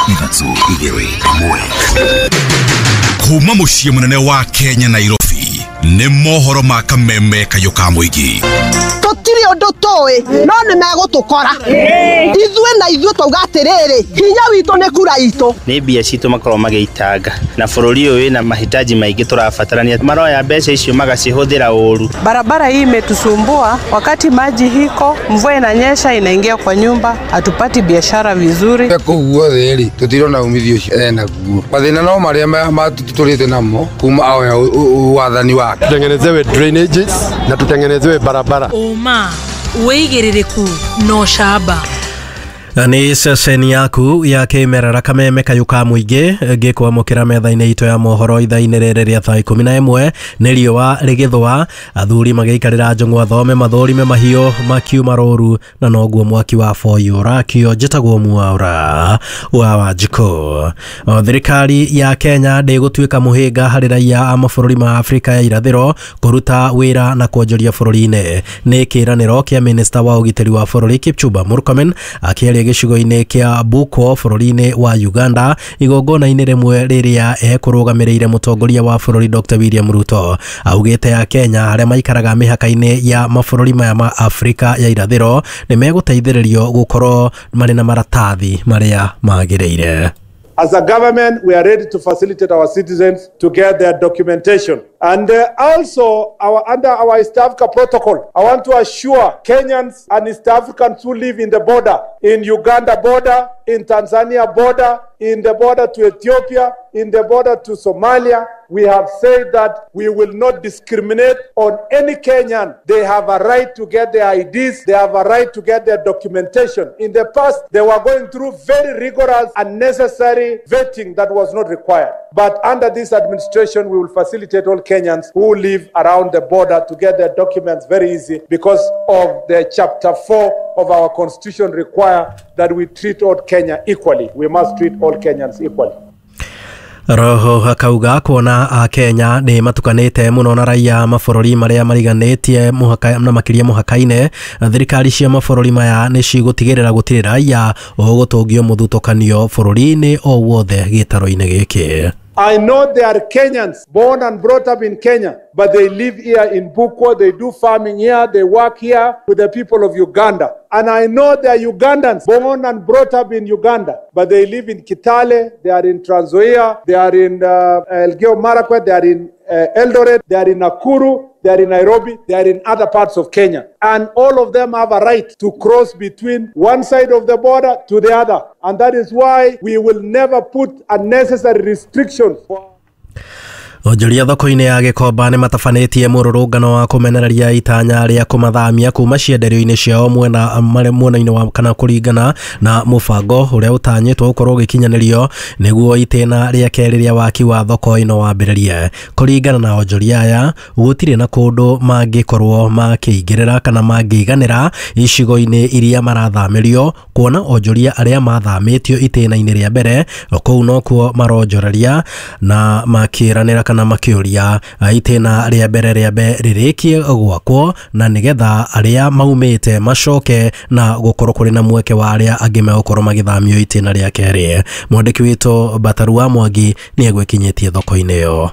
3 2 1. Kuma muciĩ mũnene wa Kenya Nairobi nĩ mohoro ma kameme kayũ ka mũingĩ. Tũtirĩ ũndũ tũĩ no nĩ megũtũkora ithuĩ na ithuĩ twauga atĩrĩrĩ, hinya witũ nĩ kura itũ. Nĩ mbia citũ makorwo magĩitanga na bũrũri ũyũ wĩna mahitaji maingĩ tũrabatarania, maroya mbeca icio magacihũthĩra ũru. Barabara hii imetusumbua, wakati maji hiko, mvua inanyesha inaingia kwa nyumba, hatupati biashara vizuri. Kũu guothe rĩ tũtirona umithio ũcio enaguo, mathĩna no marĩa matũtũrĩte namo kuma aoya wathani wake. Tutengenezewe drainages na tutengenezewe barabara. Ũma wĩigĩrĩrĩku na ũcamba. Nĩ ceceni yaku ya kĩmerera kameme kayũ ka mũingĩ ngĩkwamũkĩra metha-inĩ itũ ya mohoro ithaa-inĩ rĩrĩ rĩa thaa 11. Nĩ riũa rĩgĩthũa, athuri magĩikarĩra njũng'wa thome mathũrime mahiũ makiuma rũru, na noguo mwaki wa boyi ũrakio. Njĩtagwo Mwaura wa Wanjikũ. Thirikari ya Kenya ndĩgũtuĩka mũhĩnga harĩ raia a mabũrũri ma Afrika ya irathĩro kũruta wĩra na kwonjoria bũrũri-inĩ. Nĩ kĩĩranĩro kĩa minista wa ũgitĩri wa bũrũri Kipchumba Murkomen akĩaria gĩcigo-inĩ kĩa Bukwo bũrũri-inĩ wa Uganda igongona-inĩ rĩmwe rĩrĩa ekũrũgamĩrĩire mũtongoria wa bũrũri Dr. William Ruto. Augĩte ya Kenya arĩa maikaraga mĩhaka-inĩ ya mabũrũri maya ma Afrika ya irathĩro nĩ megũteithĩrĩrio gũkorwo marĩ na maratathi marĩa magĩrĩire. As a government, we are ready to facilitate our citizens to get their documentation. And also, under our East Africa protocol, I want to assure Kenyans and East Africans who live in the border, in Uganda border, in Tanzania border, in the border to Ethiopia, in the border to Somalia, we have said that we will not discriminate on any Kenyan. They have a right to get their IDs, they have a right to get their documentation. In the past, they were going through very rigorous and necessary vetting that was not required. But under this administration, we will facilitate all Kenyans who live around the border to get their documents very easy because of the chapter 4 of our constitution require that we treat all Kenya equally. We must treat all Kenyans equally. Roho akauga kuona a Kenya nĩ matukanĩte mũno na raia mabũrũri marĩa mariganĩtie mũhaka na makĩria mũhaka-inĩ, thirikari cia mabũrũri maya nĩ cigũtigĩrĩra gũtirĩ raia ũgũtũngio mũthutũkanio bũrũri-inĩ o wothe gĩtaro-inĩ gĩkĩ. I know there are Kenyans born and brought up in Kenya, but they live here in Bukwo, they do farming here, they work here with the people of Uganda. And I know there are Ugandans born and brought up in Uganda, but they live in Kitale, they are in Trans Nzoia, they are in Elgeyo Marakwet, they are in Eldoret, they are in Nakuru, they are in Nairobi, they are in other parts of Kenya. And all of them have a right to cross between one side of the border to the other. And that is why we will never put unnecessary restrictions. Onjoria thoko-inĩ ya Gĩkomba nĩ matabanĩtie mũrũrũngano wa kũmenereria itanya rĩa kũmathamia kuma cienderio-inĩ ciao mwena-inĩ wa kana kũringana na mũbango ũrĩa ũtanyĩtwo gũkorwo ũgĩkinyanĩrio nĩguo itĩna rĩa kerĩ rĩa waki wa thoko ĩno wambĩrĩrie. Kũringana na onjoria aya, gũtirĩ na kũndũ mangĩkorwo makĩingĩrĩra kana mangĩiganĩra icigo-inĩ iria marathamĩrio, kuona onjoria arĩa mathamĩtio itĩna-inĩ rĩa mbere kũu nokuo maronjoreria na makĩranĩra kana makĩũria itĩna rĩa mbere rĩambe rĩrĩkie gwakwo na nĩgetha arĩa maumĩte macoke na gũkorwo kũrĩ na mweke wa arĩa angĩ megũkorwo magĩthamio itĩna rĩa kerĩ. Mwandĩki witũ Batarua Mwangi nĩ egwĩkinyĩtie thoko-inĩ ĩyo.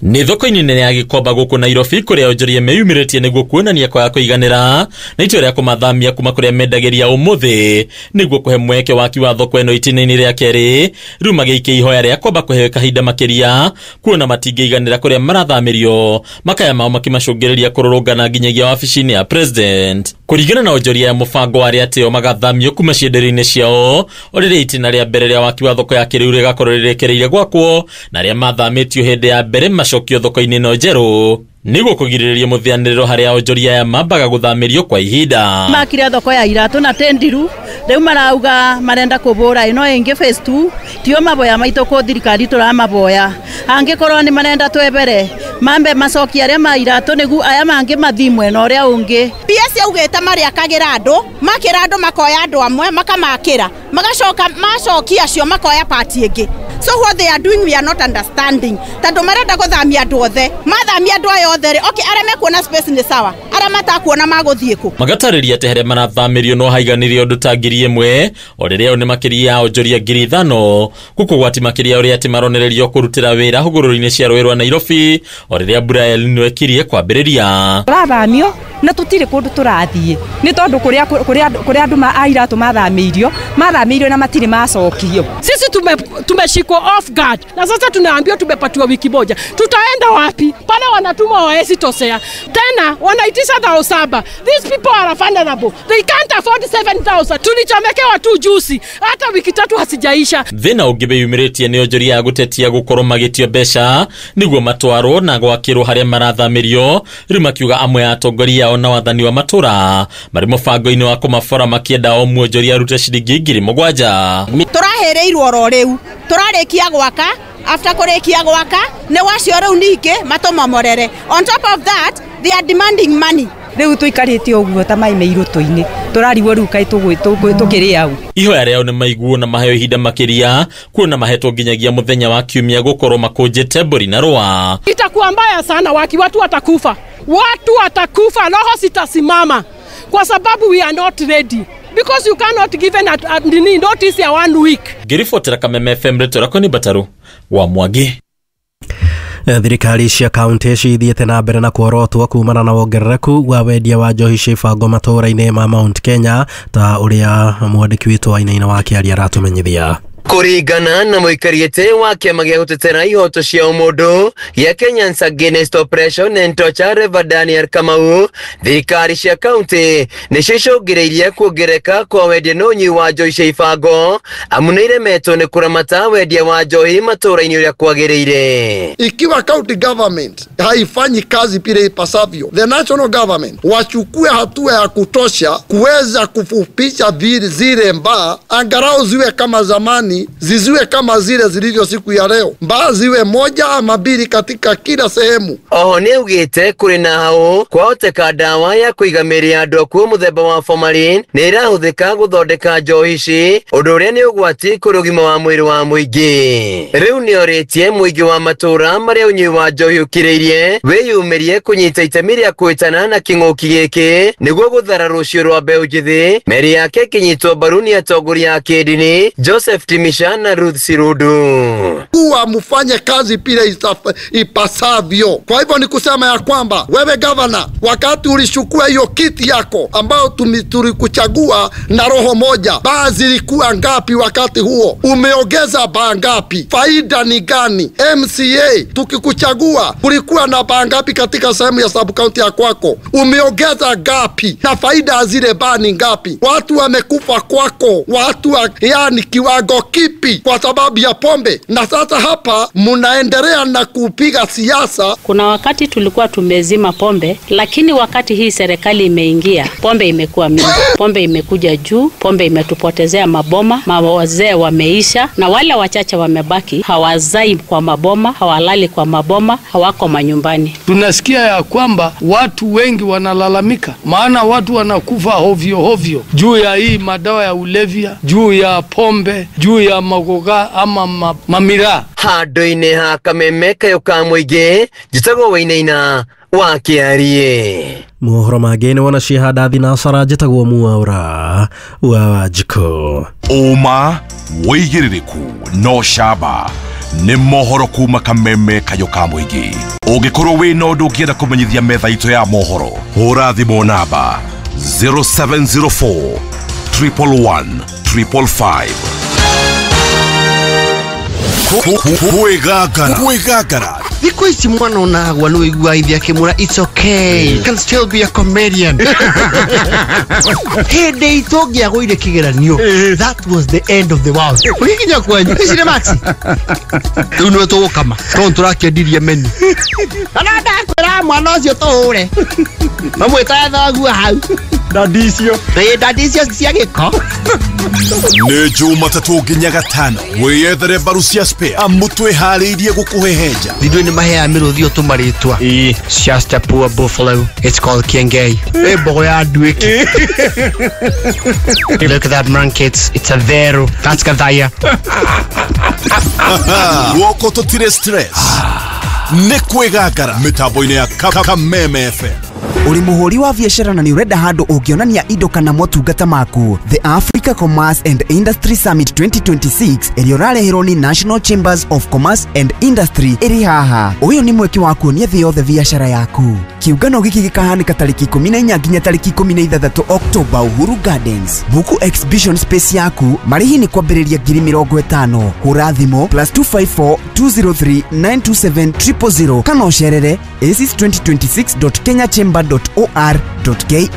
Nĩ thoko-inĩ nene ya Gĩkomba gũkũ Nairobi kũrĩa onjoria meyumĩrĩtie nĩguo kuonania kwaga kũiganĩra na itua rĩa kũmathamia kuma kũrĩa mendagĩria ũmũthĩ nĩguo kũhe mweke waki wa thoko ĩno itĩna-inĩ rĩa kerĩ. Rĩu magĩikia ihoya rĩa kwamba kũheo kahinda makĩria kuona matingĩiganĩra kũrĩa marathamĩrio, makaya mao makĩmacũngĩrĩria kũrũrũngana nginyagia wabici-inĩ ya president. Kũringana na onjoria ya mũbango wa arĩa atĩo magathamio kuma cienderio-inĩ ciao o rĩrĩa itĩna rĩa mbere rĩa waki wa thoko ya kĩrĩu rĩgakorwo rĩrekereirie gwakwo na arĩa mathamĩtio hĩndĩ ya mbere macokio thoko-inĩ ĩno njerũ nĩguo kũgirĩrĩria mũthĩanĩrĩro harĩa onjoria aya mambaga gũthamĩrio kwa ihinda. Makire thoko ya iratũ na tendiru rĩu marauga marenda kũbũra ĩno ĩngĩ phase 2 tio maboya maitũ kũ thirikari tũramaboya angĩkorwo nĩ marenda twebere mambe macokia arĩa ma iratũ nĩgu aya mangĩ mathi mwena ũrĩa ũngĩ. PS yaugĩte marĩakagĩra andũ makĩra andũ makoya andũ amwe makamakĩra magacoka macokia acio makoya pati ĩngĩ. So what they are doing we are not understanding. Tondũ marenda gũthamia andũ othe, mathamia andũ aya othe rĩ, okay, arĩa mekuona space nĩ sawa, arĩa matakuona magũthiĩ kũ? Magatarĩria atĩ harĩa marathamĩrio no haiganĩrie ũndũ ta 1,000 o rĩrĩa o nĩ makĩria ya onjoria 5,000 gũkũ gwati makĩria ũrĩa atĩ maronererio kũrutĩra wĩra hũgũrũrũ-inĩ cia rũĩ rwa Nairobi o rĩrĩa mbura ya El Nino ĩkirie kwambĩrĩria. Tũrathamio na tũtirĩ kũndũ tũrathiĩ nĩ tondũ kũrĩa andũ a iratũ mathamĩirio na matirĩ macokio. Sisi tumeshikwa off guard na sasa tunaambiwa tumepatiwa wiki moja. Tutaenda wapi? Pale wanatuma waesi tosea tena wanaitisha 7,000. These people are vulnerable, they can't afford 7,000. Tulichomekewa tu juzi, hata wiki tatu hasijaisha. Thĩna ũngĩ wĩyumĩrĩtie nĩ onjoria ya gũtetia gũkorwo magĩtio mbeca nĩguo matwarwo na gwakĩrwo harĩa marathamĩrio, rĩu makiuga amwe a atongoria ao na wathani wa matũra marĩ mũbango-inĩ wa kũmabora makĩenda o mwonjoria arute ciringi 7,000. Tũrahĩrĩirwo oro rĩu, tũrarĩkia gwaka, after kũrĩkia gwaka nĩ wacio rĩu ningĩ matũmomorere. On top of that they are demanding money. Rĩu tũikarĩte ũguo ta maĩ me irũtũ-inĩ, tũrarigwo rĩu kaĩ tũkĩrĩa ũ. Ihoya rĩao nĩ maiguo na maheo ihinda makĩria kuona mahetwo nginyagia mũthenya wa kiumia gũkorwo makũnjĩte mbũri na rũa. Itakuwa mbaya sana waki, watu watakufa, watu watakufa, roho zitasimama kwa sababu we are not ready because you cannot give an notice ya 1 week. Ngĩribotera Kameme FM rĩtwa rĩakwa nĩ Mbataru wa Mwangi. Thirikari cia kaunti cithiĩte na mbere na kuorotwo kumana na wongerereku wa wendia wa njohi cia ibango matũũra-inĩ ma Mount Kenya ta ũrĩa mwandĩki witũ Wainaina wa Kĩaria aratũmenyithia. Kũringana na mũikarĩte wa kĩama gĩa gũtetera ihoto cia ũmũndũ gĩa Kenyans Against Oppression and Torture Reverend Daniel Kamau, thirikari cia kaunti nĩcio icũngĩrĩirie kuongereka kwa wendia na ũnyui wa njohi cia ibango, amu nĩ iremetwo nĩ kũramata wendia wa njohi matũũra-inĩ ũrĩa kwagĩrĩire. Ikiwa county government haifanyi kazi vile ipasavyo, the national government wachukue hatua ya kutosha kuweza kufupisha zile mbaa, angalau ziwe kama zamani, ziziwe kama zile zilivyo siku ya leo, mbaa ziwe moja ama mbili katika kila sehemu. Oho nĩ augĩte kũrĩ na hau kwahoteka ndawa ya kũiga mĩĩrĩ ya andũ akuũ mũthemba wa formalin nĩ ĩrahũthĩka gũthondeka njohi ici, ũndũ ũrĩa nĩ ũgwati kũrĩ ũgima wa mwĩrĩ wa mũingĩ. Rĩu nĩorĩtie mũingĩ wa matũũra marĩa ũnyui wa njohi ũkirĩirie wĩyumĩrie kũnyita itemi rĩa kũhĩtana na kĩng'ũki gĩkĩ nĩguo gũthara rũciũ rwa mbeũ njĩthĩ. Mĩri yake ĩkĩnyitwo mbaru nĩ atongoria a kĩndini Joseph Timisha na Ruth Sirudu. Kuwa mfanye kazi pile ipasavyo. Kwa hivyo ni kusema ya kwamba wewe governor, wakati ulishukua hiyo kiti yako ambao tulikuchagua na roho moja, baa zilikuwa ngapi wakati huo? Umeongeza baa ngapi? Faida ni gani? MCA tukikuchagua kulikuwa na baa ngapi katika sehemu ya sub county ya kwako? Umeongeza ngapi? Na faida zile baa ni ngapi? Watu wamekufa kwako, watu yani kiwango kipi kwa sababu ya pombe? Na sasa hapa mnaendelea na kupiga siasa. Kuna wakati tulikuwa tumezima pombe, lakini wakati hii serikali imeingia, pombe imekuwa mingi, pombe imekuja juu, pombe imetupotezea maboma, mawazee wameisha, na wale wachache wamebaki hawazai kwa maboma, hawalali kwa maboma, hawako manyumbani. Tunasikia ya kwamba watu wengi wanalalamika, maana watu wanakufa hovyo hovyo juu ya hii madawa ya ulevya, juu ya pombe, juu ya magoga ama mamira. Handũ-inĩ ha Kameme kayũ ka mũingĩ, njĩtagwo Wainaina wa Kĩarie. Mohoro mangĩ nĩ wona ciahanda thinacara, njĩtagwo Mwaura wa Wanjikũ. Ũma wĩigĩrĩrĩku no camba nĩ mohoro kuma Kameme kayũ ka mũingĩ. Ũngĩkorwo wĩna ũndũ ũngĩenda kũmenyithia metha itũ ya mohoro, hũra thimũ namba 0704 111 555. Kwĩgangara. Thikũ ici mwana onagwa nĩ ũiguaga ithe akĩmwĩra it's okay, you can still be a comedian. Hĩndĩ itũ ũngĩagũire kĩgeranio, that was the end of the world. Ũgĩkinya kwanyu ici nĩ maxi rĩu nĩwe tũgũkama tondũ tũrakĩendirie menu. Kana ndakwĩra mwana ũcio tũhũre mamwĩtaga thoguo hau. Ndandi icio. Ĩ, ndandi icio cia gĩko. Nĩ Jumatatũ nginya Gatano, wĩyethere mbaru cia spare amu twĩharĩirie gũkũhehenja. Ithuĩ nĩ maheaga mĩrũthi ũtũmarĩtwa. Shasta poor buffalo. It's called Kiengei. Ĩ mbogo ya nduĩki. Look at that monkey. It's a vero. That's Gathaya. Guoko tũtirĩ stress, nĩ kwĩgangara mĩtambo-inĩ ya Kameme FM. Ũrĩ mũhũri wa biacara na nĩ ũrenda handũ ũngĩonania indo kana motungata maku? The Africa Commerce and Industry Summit 2026 ĩrĩa ũrareherwo nĩ National Chambers of Commerce and Industry ĩrĩ haha. Ũyũ nĩ mweke wa kuonia thĩ yothe biacara yaku. Kĩũngano gĩkĩ gĩkahanĩka tarĩki 14 nginya tarĩki 16 Oktoba, Uhuru Gardens. Buku exhibition space yaku. Marĩhi nĩ kwambĩrĩria 50,000. Hũra thimũ +254 203 927 000 kana ũcerere aces2026.kenyachamber.or.ke.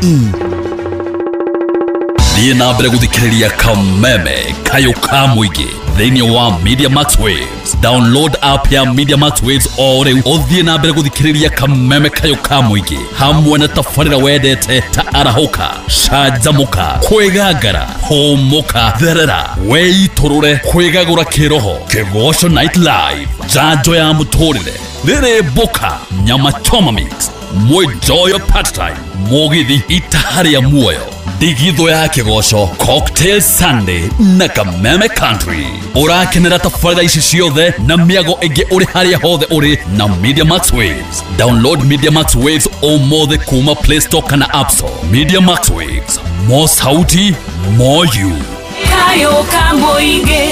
Thiĩ na mbere gũthikĩrĩria Kameme Kayũ ka Mũingĩ thĩinĩ wa Media Max Waves. Download app ya Media Max Waves o rĩu, ũthiĩ na mbere gũthikĩrĩria Kameme Kayũ ka Mũingĩ hamwe na tabarĩra wendete ta Arahũka, Canjamũka, Kwĩgangara, Hũmũka, Therera, Wĩitũrũre, Kwĩgagũra Kĩroho, Kĩgoco Night Live, Njanjo ya Mũtũrĩre, Rĩrĩ Mbũka, Nyama Choma Mix, Mwĩnjoyo Part Time, Mũgithi, Itaha rĩa Muoyo, Ndigithũ ya Kĩgoco, Cocktail Sunday na Kameme Country. Ũrakenera tabarĩra ici ciothe na mĩago ĩngĩ ũrĩ harĩa hothe ũrĩ na Media Max Waves. Download Media Max Waves ũmũthĩ kuma Play Store kana App Store. Media Max Waves, more sauti, more you. Kayo Kamũingĩ.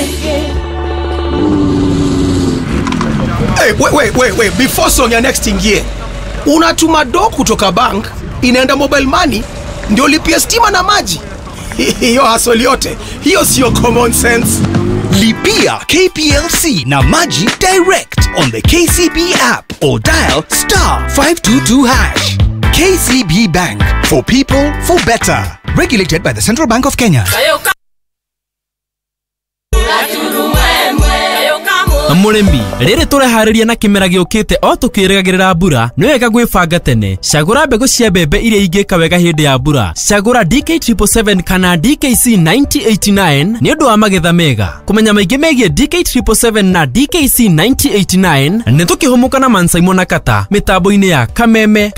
Hey, wait, wait, wait, wait. Before song ya next ingie, unatuma do kutoka bank inaenda mobile money ndio lipia stima na maji. Hiyo hassle yote hiyo sio common sense. Lipia KPLC na maji direct on the KCB app or dial *522#. KCB Bank for people, for better. Regulated by the Central Bank of Kenya. Mũrĩmi, rĩrĩ tũreharĩria na kĩmera gĩũkĩte o tũkĩrĩgagĩrĩra mbura, nĩ wega gwĩbanga tene. Cagũra mbegũ cia mbembe iria ingĩka wega hĩndĩ ya mbura. Cagũra DK777 kana DKC 9089 nĩ ũndũ wa magetha mega. Kũmenya maingĩ megiĩ DK777 na DKC 9089, nĩ tũkĩhũmũka na Mansaimo na Kata mĩtambo-inĩ ya Kameme.